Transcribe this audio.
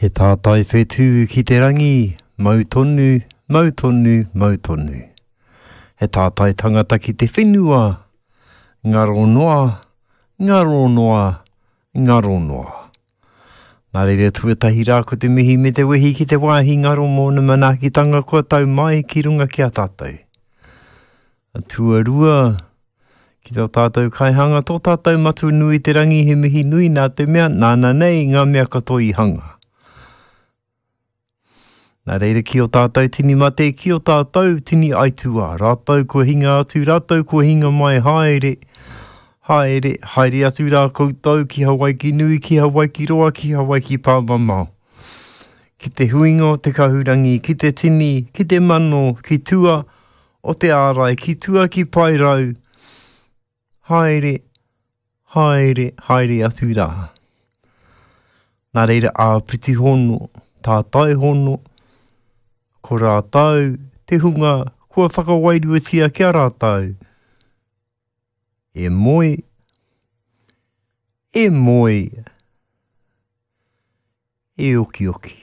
He tātai whetū ki te rangi, mau tonu, mau tonu, mau tonu. He tātai tangata ki te whenua, ngaro noa, ngaro noa, ngaro noa. Nā reira tuatahi rā ko te mihi me te wehi ki te wāhi ngaro mōna manaakitanga kua tau mai ki runga ki a tātou. Tuarua, ki tō tātou kaihanga, tō tātou Matua nui i te rangi he mihi nui nā te mea nāna nei ngā mea katoa i hanga. Nā reira ki o tātou tini mate, ki o tātou tini aituā, rātou kua hinga atu, rātou kua hinga mai, haere, haere, haere atu rā koutou ki Hawaiki nui, ki Hawaiki roa, ki Hawaiki pāmamao. Ki te huinga o te kahurangi, ki te tini, ki te mano, ki tua, o te ārai ki tua ki Paerau, haere, haere, haere atu rā. Nā reira āpiti hono, tātai hono, ko rātou te hunga kua whakawairuatia ki a rātou. E moe, e moe, e okioki.